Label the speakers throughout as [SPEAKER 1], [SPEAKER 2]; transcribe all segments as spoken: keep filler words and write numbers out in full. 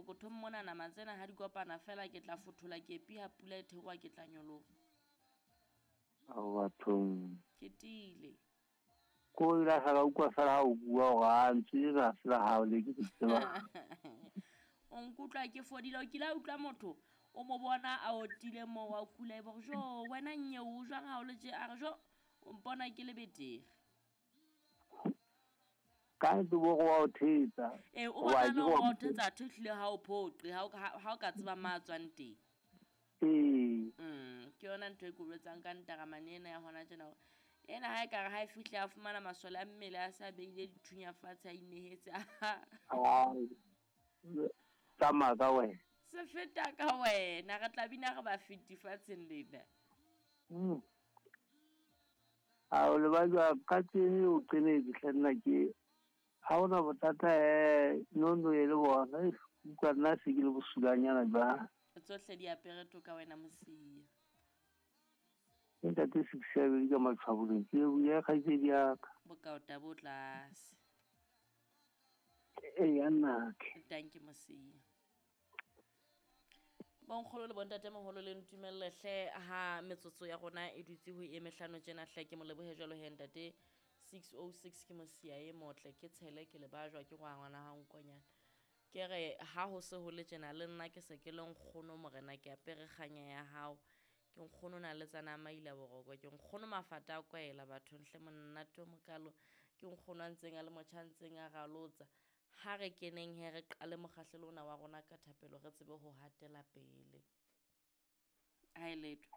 [SPEAKER 1] pokothong mona nama tsena ha di kopana fela ke tla fothola kepi ha pula e theoha ke tla nyoloha.
[SPEAKER 2] Ao bathong.
[SPEAKER 1] Ke tiile.
[SPEAKER 2] Ko ile ga ka utlwa fela ha o bua hore a ntse la se la hao le ke tseba.
[SPEAKER 1] O nkutlwa ke fodile, o kile a utlwa motho o mo bona a otile moo wa kula e bo jo wena nnye o jwang ha o le tje a re jo o mpona ke le betere.
[SPEAKER 2] Ka ntse bo go wa o thetsa.
[SPEAKER 1] Eh o bona no o thetsa thehlile ha o phoqe ha o ha o ka tseba ma tswang teng.
[SPEAKER 2] Eh.
[SPEAKER 1] Mm ke yona ntho e ke boletsang ka ntaramane ena ya hona tjena hore ena ha e ka re ha e fihle a fumana masole a mmele a sa beile dithunya fatshe a inehetse.
[SPEAKER 2] Ai. Tsamaya ka wena.
[SPEAKER 1] Se feta ka wena re tla bina re ba fiti fatsheng lena.
[SPEAKER 2] Mm. A o le ba jwa ka tsene o qenetse hle nna ke ha ona bothata eh no no e le bona utlwa nna se ke le bosulanyana jwa.
[SPEAKER 1] Tsohle di apere toka wena mosia.
[SPEAKER 2] Ntate six seven ka matshwaboleng ke ya kgaitsedi ya ka.
[SPEAKER 1] Bokaota bo tlase.
[SPEAKER 2] E ya nna ke.
[SPEAKER 1] Thank you mosia. Bonkgolo le bontate moholo le ntumelle hle ha metsotso ya rona e dutse ho e mehlano tjena hle ke mo lebohe jwalo he ntate six oh six ke mosia e motle ke tshele ke le bajwa ke ngwana ngwana ha nkonyana. Ke re ha ho se ho le tjena le nna ke se ke le nkgono morena ke apere kganya ya hao. Ke nkgono na le tsana maila boroko ke nkgono mafata a kwaela batho nhle monnate o mokalo ke nkgono a ntseng a le motjha ntseng a ralotsa. Ha re keneng he re qale mokgahlelo ona wa rona ka thapelo re tsebe ho hatela pele. Ha e letho.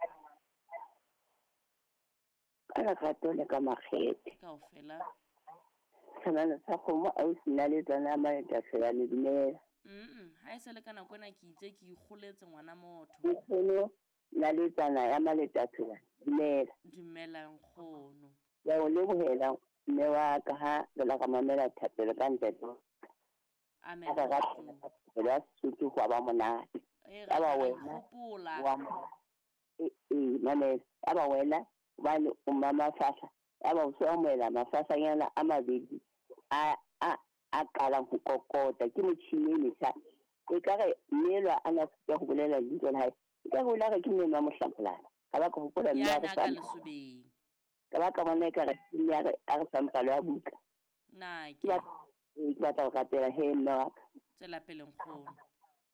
[SPEAKER 3] Ka lerato le ka makgethe.
[SPEAKER 1] Kaofela.
[SPEAKER 3] Tshwanelo sa kgomo ausi nna le tsana maeta fela le dumela.
[SPEAKER 1] Mm ha e se le ka nako ena ke itse ke ikgoletse ngwana motho.
[SPEAKER 3] Nkgono na le tsana ya maleta fela dumela.
[SPEAKER 1] Dumela nkgono.
[SPEAKER 3] Ya o lebohela mme wa ka ha re la ka mamela thapelo ka ntate.
[SPEAKER 1] Amen.
[SPEAKER 3] Ka ra Sotho hwa ba monate.
[SPEAKER 1] E
[SPEAKER 3] Ya ba wena.
[SPEAKER 1] Hopola.
[SPEAKER 3] Wa e e mamela. Ya ba wena hobane o mama fahla. Ya ba o so amohela mafahlanyana a mabedi a a a qalang ho kokota ke motjhini e metjha. E ka re mmelwa a na sitwa ho bolela lebitso la hae. E ka re o la re ke mmeno wa mohlampolana. Ka ba ka hopola mme
[SPEAKER 1] Ya
[SPEAKER 3] a re
[SPEAKER 1] na ka
[SPEAKER 3] sa
[SPEAKER 1] lesobeng.
[SPEAKER 3] Ka ba ka bona ekare mme a re a re fa mpalo ya buka.
[SPEAKER 1] Na
[SPEAKER 3] Ke
[SPEAKER 1] ke
[SPEAKER 3] batla ke batla ho rapela he mme wa ka.
[SPEAKER 1] Tswela pele nkgono.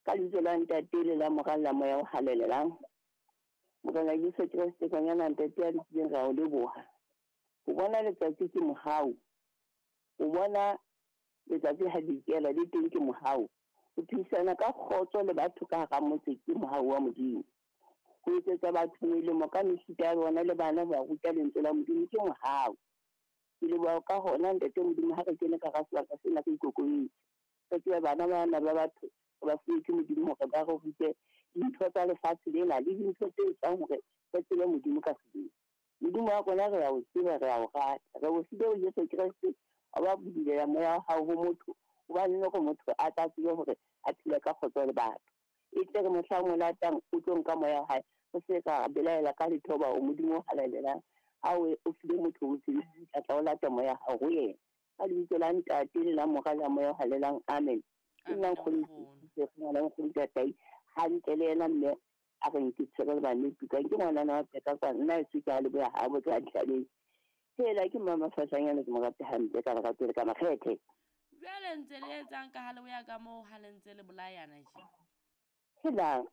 [SPEAKER 3] Ka lebitso la Ntate le la Mora le la Moya o Halalelang. Morena Jesu Kreste konyana Ntate ya lokileng ra o leboha. Ho bona letsatsi ke mohau. Ho bona letsatsi ha le ikela le teng ke mohau. Ho phisana ka kgotso le batho ka hara motse ke mohau wa Modimo. Ho etsetsa batho melemo ka mefuta ya bona le bana ba ruta lentswe la Modimo ke mohau. Ke leboha ka hona Ntate Modimo ha re kene ka hara sebaka sena re ikokobeditse. Re tsebe bana bana ba batho ba fuwe ke Modimo hore ba re rute dintho tsa lefatshe lena le dintho tse etsang hore re tsebe Modimo ka sebele. Modimo wa rona re a o tseba, re a o rata. Re o file ho Jesu Kreste wa ba bulela moya wa hao ho motho hobane le hore motho a tla tsebe hore a phele ka kgotso le batho. E tle re mohlang o latang o tlo nka moya wa hae o se ka belaela ka letho hoba o Modimo o halalelang. Ha o o file motho o tsebe tla tla o lata moya wa hao ho yena. Ka lebitso la Ntate le la Mora le la Moya o Halalelang. Amen. Ke nna
[SPEAKER 1] Amen
[SPEAKER 3] nkgono
[SPEAKER 1] nkgono.
[SPEAKER 3] ke nna nkgono Tatai hantle le yena mme a re nke tshwere le bane tukang ke ngwanana wa peka kwa nna e se ke a leboha ha botsa a ditlhabeng. Hela ke mama Fashanyana ke mo rata hampe ka lerato le ka makgethe.
[SPEAKER 1] Jwale ntse le etsang ka ha le boya ka moo ha le ntse le bolayana tje.
[SPEAKER 3] Hela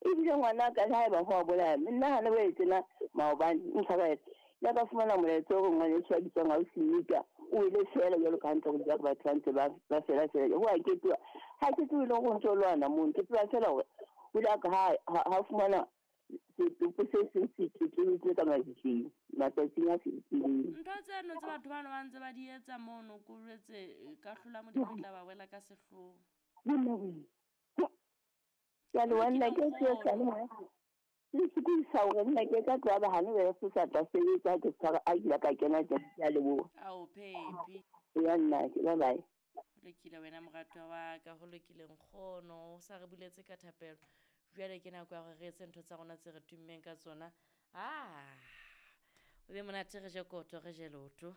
[SPEAKER 3] ebile ngwana ka le haeba ho a bolaya nna ha le boetse na maobane ntlha ba etse ya ka fumana molaetsa o re ngwaneso a bitswang ausi Nika o ile fela jwalo ka hantle go batho ba ntse ba ba fela fela ho a ketuwa ha ke tsebe le hore o ntso lwana mono ke tseba fela hore o ile a ka ha ha fumana setopo se seng se tletlebetswe ka mabitleng matsatsing a fetileng.
[SPEAKER 1] Ntho tseno tse batho bano ba ntse ba di etsa mono ko jwetse ka hlola Modimo e tla ba wela ka sehloho.
[SPEAKER 3] Jwale wa nna ke se sa le le sokodisa hore nna ke ka tloha ba hane be se sa tla sebetsa ke tshwara a kile ka kena teng ke a leboha.
[SPEAKER 1] Ao phephi.
[SPEAKER 3] Ya nna ke bye bye.
[SPEAKER 1] Ho lokile wena moratwa wa ka, ho lokile nkgono o sa re buletse ka thapelo. Jwale ke nako ya hore re etse ntho tsa rona tse re tummeng ka tsona. Ah, o be monate re je koto re je lotho.